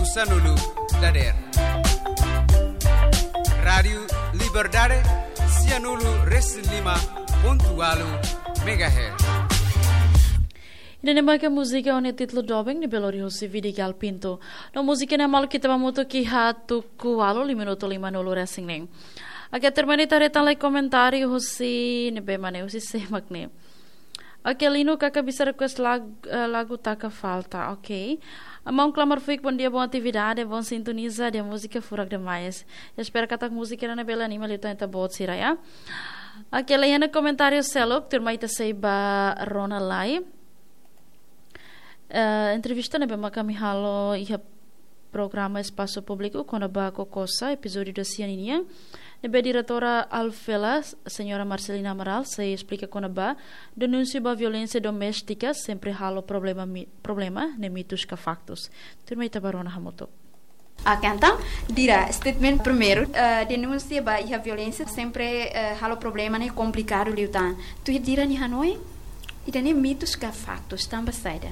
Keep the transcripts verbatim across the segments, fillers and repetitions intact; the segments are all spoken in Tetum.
Sanulu dader. Rádiu Liberdade, sianulu resin lima pontu ualu megahertz. Ida-ne'e maka múzika ho nia títulu Doben, ne'ebé lori husi Vidigal Pinto. No múzika ne'e maluk ita ba hamutuk iha tuku ualu, lima minutu lima nulu resin neen. Oke, termina ita haree tan lai komentáriu husi ne'ebé mak ne'e, husi sé mak ne'e. Oke, Lino, kakak bisa request lag-, eh, lagu Taka Falta. Oke. Maun Klamar Fuik, bom dia, bom atividade, bom sintoniza, dia múzika furak demais. Espera katak múzika ne'e bele anima liután ita-boot sira, ya. Oke, lee iha komentáriu seluk, tuirmai ita sei ba rona lai. Eh, entrevista ne'ebé maka ami halo iha programa Espasu Públiku kona-ba Kokosa, epizódiu dua sia ninian, ne'ebé diretora Alfela, Señora Marcelina Amaral, sei esplika kona-ba denúnsia ba violénsia doméstika sempre halo problema mi-, problema, ne'e mitus ka faktus. Tuirmai ita ba rona hamutuk. Oke, entaun, Dira, statement primeiru, eh, denúnsia ba iha violénsia sempre, eh, halo problema ne'e komplikadu liután. Tuir Dira nia hanoin, ida-ne'e mitus ka faktus, tanba saida?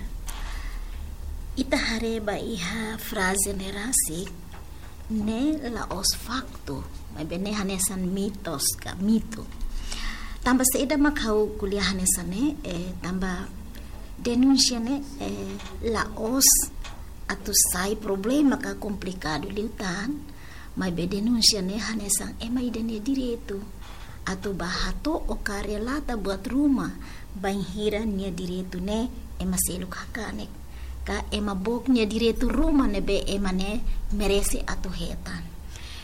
Ita haree ba iha fraze ne'e rasik, ne'e la'ós faktu, maibé ne'e hanesan mitos ka mitu. Tanba saida mak ha'u ko'alia hanesan ne'e, eh, tanba denúnsia ne'e, eh, la'ós atu sai problema ka komplikadu liután, maibé denúnsia ne'e hanesan ema ida nia direitu atu ba hato'o ka relata buat ruma bainhira nia direitu ne'e ema seluk hakanek, ka ema book nia direitu ruma ne'ebé ema ne'e merese atu hetan.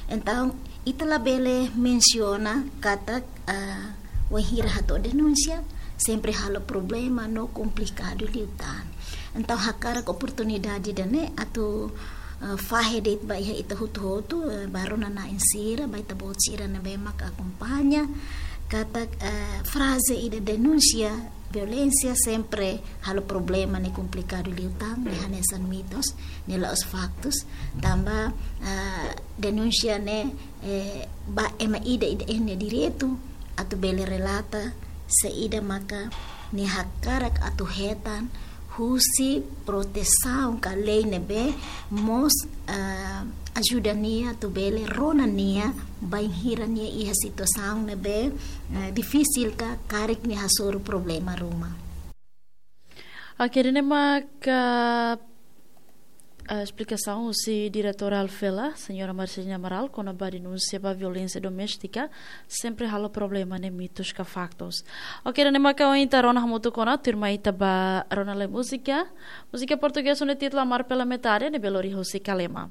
Entaun, ita labele mensiona katak, ah, wainhira hato'o denúnsia, sempre halo problema no komplikadu liután. Entaun, hakarak oportunidade ida-ne'e atu, ah, fahe de'it ba iha ita hotu-hotu, eh, ba rona-na'in sira, ba ita-boot sira ne'ebé mak akompaña, katak, eh, fraze ida denúnsia violénsia sempre halo problema ne'e komplikadu liután, ne'e hanesan mitos, ne'e la'ós faktus, tanba, ah, denúnsia ne'e, eh, ba ema ida-idak nia direitu atu bele relata saida maka nia hakarak atu hetan husi protesaun ka lei ne'ebé mós, ah, ajuda nia atu bele rona nia bainhira nia iha situasaun ne'ebé, eh, difisil ka karik nia hasoru problema ruma. Oke, ida-ne'e maka, eh, esplikasaun husi diretora Alfela, Señora Marcelina Amaral, kona-ba denúnsia ba violénsia doméstika sempre halo problema ne'e mitus ka faktus. Oke, ida-ne'e maka ohin ita rona hamutuk ona, tuirmai ita ba rona lai múzika. Múzika portugés ho nia títulu Amar pela Metade, ne'ebé lori husi Kalema.